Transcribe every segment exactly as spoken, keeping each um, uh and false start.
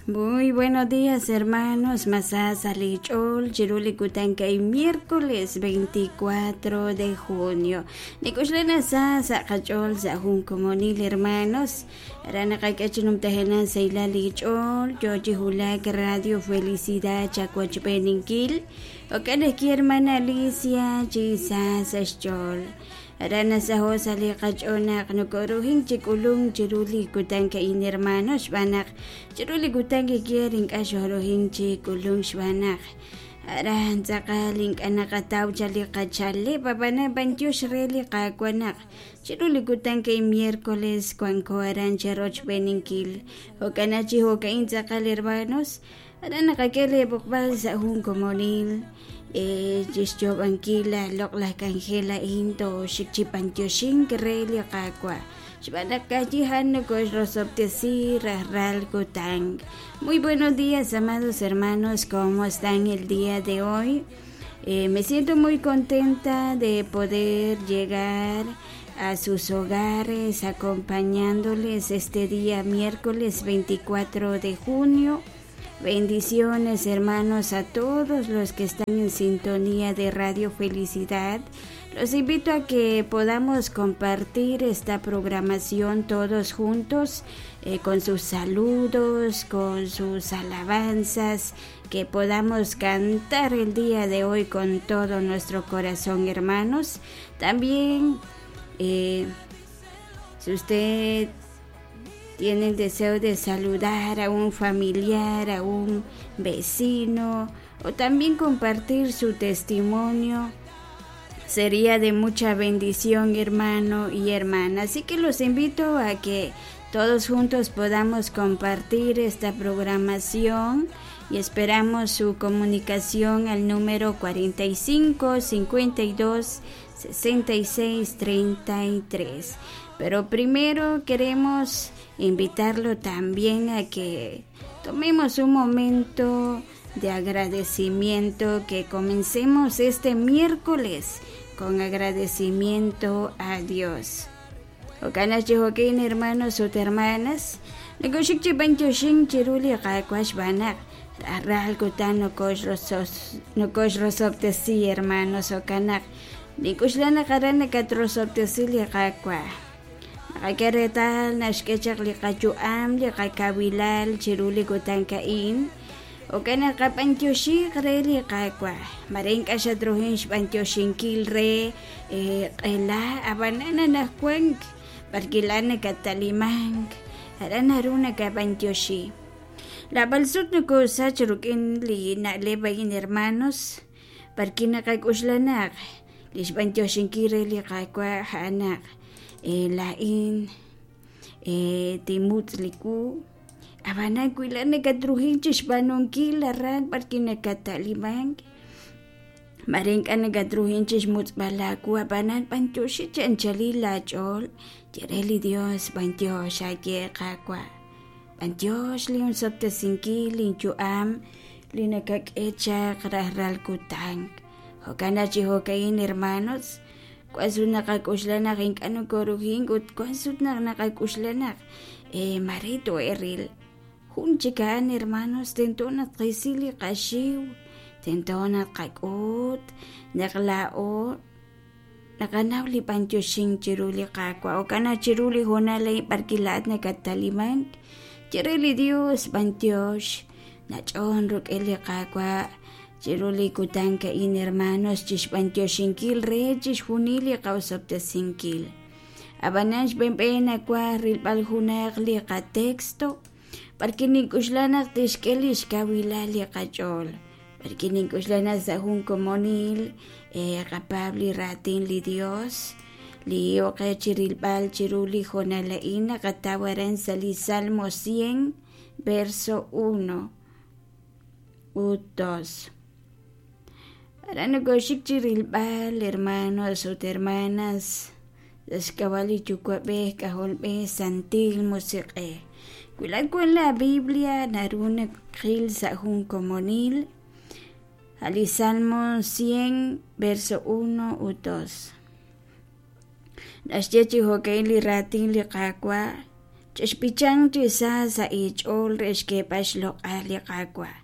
Muy buenos días, hermanos. Masasa Lichol, Chiruli Kutanka y miércoles veinticuatro de junio. Nikushlena Sasa Kachol, Sahun Comonil, hermanos. Ranakakachinum Tajenan Seila Lichol, Yochi Hulak, Radio Felicidad, Chacuachpeninkil. Okaneki hermana Alicia, Chisasa Chol. Arana saho sali qach'onaq nukuruhin chikulun chiruli kutanka in hermanos xb'anaq chiruli kutanka kierin k'axoruhin chikulun xb'anaq aran tz'aqal ink'anaqataw chali qachale papana pantyux reli qakuanaq chiruli kutanka in miércoles kuanko aran charochpeninkil jok'anachi jok'ain tz'aqal hermanos arana qakele b'uqb'al sahun komonil Chixyobankila loqlajkanjela into xikchipantioxin reli qakua xb'anaqkachijan nokoxrosoptesi rajral kutang. Muy buenos días, amados hermanos, ¿cómo están el día de hoy? Eh, me siento muy contenta de poder llegar a sus hogares acompañándoles este día miércoles veinticuatro de junio. Bendiciones, hermanos, a todos los que están en sintonía de Radio Felicidad. Los invito a que podamos compartir esta programación todos juntos, eh, con sus saludos, con sus alabanzas, que podamos cantar el día de hoy con todo nuestro corazón, hermanos. También, eh, si usted tiene el deseo de saludar a un familiar, a un vecino, o también compartir su testimonio, sería de mucha bendición, hermano y hermana. Así que los invito a que todos juntos podamos compartir esta programación y esperamos su comunicación al número cuarenta y cinco, cincuenta y dos, sesenta y seis, treinta y tres. Pero primero queremos invitarlo también a que tomemos un momento de agradecimiento, que comencemos este miércoles con agradecimiento a Dios. Okanas chihokin, hermanos o hermanas, negoshik chipanchoshin chiruli qakuash banak, arral kutan nokosh rosos, nokosh rosoptesi, hermanos, okanak, nikushlana qarana katrosoptesi qakua. Qakeretal naxkechaq liqachu'am liqakawilal chiruli kutankain okana qap'antyoxiq re liqakua maren k'axatruhin xp'antyoxinkil re q'ela abanana najkuank parkilana katalimank aran haruna kap'antyoxi la balsut nukusach ruk'in li na'leb'ayin hermanos parkina qak'uxlanaq lixp'antyoxinkil re liqakua ja'anaq lain timutliku abana kuilana katruhin chixpanunkil arran parkina katalimank marenk'ana katruhin chixmutz'palaku abanan pantyoxi chanchalil lach'ol yereli Dios pantyox aye qakua pantyox liunsoptesinkil linchu'am linakak'echaq rajral kutank jokana chijokain hermanos Kuan naqak'uxlanaq ink'anu korujin ut kuan sut naqak'uxlanaq eh marito eril jun chikan hermanos tento naqisili qaxiw tento naqak'ut naqla'o naqanaw li pantyoxin chiruli qakua okana chiruli jonalay parkilat nakatalimank chirili Dios pantyox nach'on ruk'eli qakua chiruli kutanka in hermanos chixpantyoxinkil re chixjunili qawsoptesinkil abanan xp'enp'en akua rilb'al junaq li qatexto parque nink'uxlanaq tixk'el ixkawilal li qach'ol parque nink'uxlanaq sa jun komonil eh, qapab li ratin li Dios li oqe chirilb'al chiruli jonala'in naqatawaran sa li Salmo cien verso uno u dos. Aranagoshik chirilbal, hermanos o hermanas, Xkawali yukuab'ej k'ajolb'ej santil musiq'ej. Kuilan con la Biblia naruna qil sa jun komonil. Ali Salmo cien, verso uno u dos. Naxyechi jok'in li ratin li qakwa Chexb'ichanq chi sa sa' eech'ool re xk'eeb'al xloq'al li Qaawa'.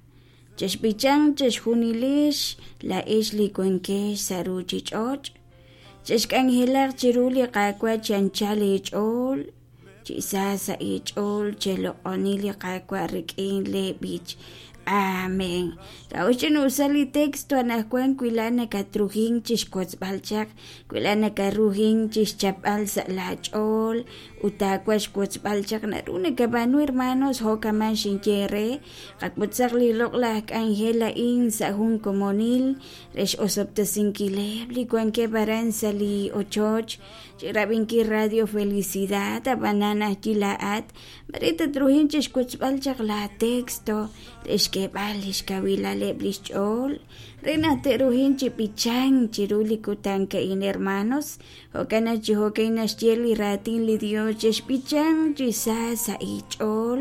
Chexb'ichanq chixjunilex laa'ex li wankex sa' ruuchich'och'. Chexk'anjelaq chiru li Qaawa' chi anchal eech'ool, chi sa sa' eech'ool cheloq'oni li Qaawa' rik'in leeb'ich. Amén. K'a'uxl chinusa li texto anaqwan wi laa'at nakatruhink chixwotzb'al chaq, wi laa'at nakatruhink chixchapb'al sa' laach'ool ut taawaj xwotzb'al chaq naru nakab'aanu hermanos jo'kaman xinye eere qawotzaq li loq'laj k'anjel a'in sa' jun komonil re x'osob'tesinkileb' li wankeb' aran sa' li ochoch chi rab'inkil Radio Felicidad ab'anan ajwi' laa'at mare tatruhink chixwotzb'al chaq la texto re xk'eeb'al li xkawilaleb' li xch'ool re naq te'ruhink chi b'ichank chiru li kutan a'in hermanos jo'kan naq chi jo'kan naxye li raatin li Dios chexb'ichanq chi sa sa' eech'ool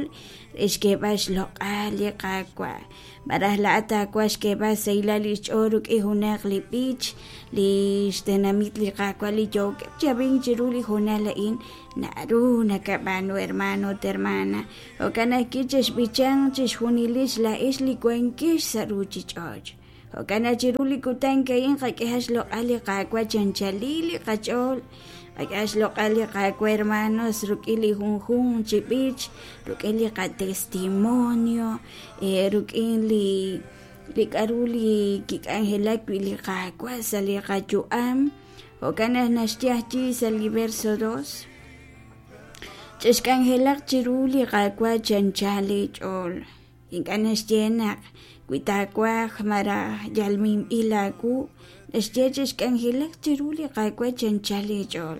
re xk'eeb'al xloq'al li Qaawa'. Malaj laa'at taawaj xk'eeb'al sahilal li xch'ool rik'in junaq li b'ich li xtenamit li Qaawa' li yookeb' chi ab'ink chiru li hoonal a'in naru nakab'aanu hermano ut hermana. Jo'kan ajwi' chexb'ichanq chixjunilex laa'ex li wankex sa' ruuchich'och'. Jo'kan naq chiru li kutan a'in qak'ehaq xloq'al li Qaawa' chi anchalil li qach'ool. Qak'ehaq xloq'al li Qaawa' hermanos rik'in li junjunq chi b'ich, rik'in li qatestimonio, rik'in li li k'a'ru li kik'anjelak wi' li Qaawa' sa' li qayu'am. Jo'kan naq naxye ajwi' sa' li verso dos. Chexk'anjelaq chiru li Qaawa' chi anchal eech'ool. Ink'a' naxye naq wi taawaj malaj yal minb'il aawu, naxye chexk'anjelaq chiru li Qaawa' chi anchal eech'ool.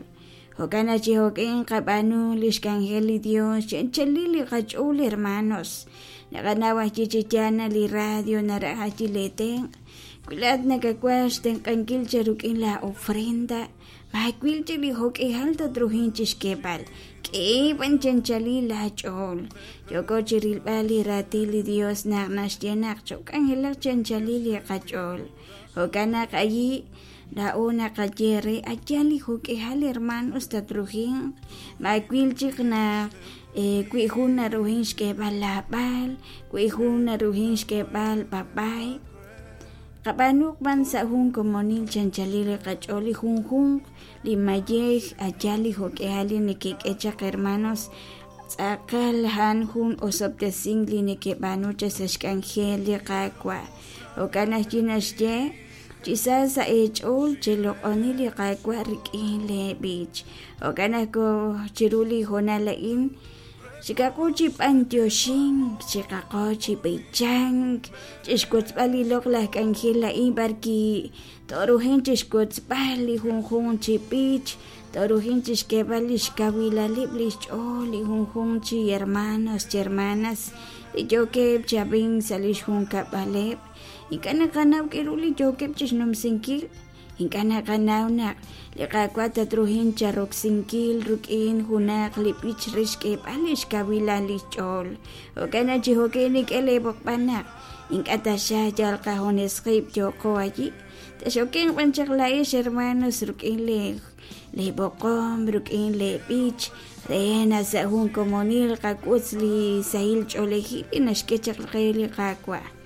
Jo'kan naq chi jo'kan qab'aanu li xk'anjel li Dios chi anchalil li qach'ool hermanos. Naqanaw ajwi' chi yaal naq li radio naraj ajwi' lee tenq'. Wi laa'at nakawaj xtenq'ankil chi rik'in la ofrenda, maawil chi li jo'k'ihal tatruhink chixk'eeb'al. K'e b'an chi anchalil laach'ool. Yooko chi rilb'al li raatin li Dios naq naxye naq chok'anjelaq chi anchalil li qach'ool. Jo'kan naq allí laa'o naqaye re ayal li jo'k'ihal hermanos tatruhink. Maawil chik naq wi jun naruhink xk'eeb'al laab'al, wi jun naruhink xk'eeb'al b'ab'ay. Qab'aanuq b'an sa' jun komonil chi anchalil li qach'ool li junjunq li mayej ayal li jo'k'ihal li nekek'e chaq hermanos tz'aqal a'an jun osob'tesink li nekeb'aanu chaq sa' xk'anjel li Qaawa'. Jo'kan ajwi' naxye chi sa sa' eech'ool cheloq'oni li Qaawa' rik'in leeb'ich. Jo'kan ajwi' chiru li hoonal a'in chiqaqo chi b'antioxink, chiqaqo chi b'ichank, chixwotzb'al li loq'laj k'anjel a'in b'arki toruhin chixwotzb'al li junjunq chi b'ich, toruhin chixk'eeb'al li xkawilaleb' li xch'ool li junjunq chi hermanos chi hermanas li yookeb' chi ab'ink sa' li xjunkab'aleb'. Ink'a' naqanaw k'aru li yookeb' chixnumsinkil. Ink'a' naqanaw naq li Qaawa' tatruhink charoksinkil rik'in junaq li b'ich re xk'eeb'al li xkawilal li xch'ool. Jo'kan naq chi jo'kan nik'e leeb'oqb'al naq ink'a' taxaq yal qajunes qib' yooqo allí. Taxokenq b'an chaq laa'ex hermanos rik'in lee leeb'oqom, rik'in leeb'ich re naq sa' jun komonil qak'utz li sahil ch'oolejil li naxk'e chaq qe li Qaawa'.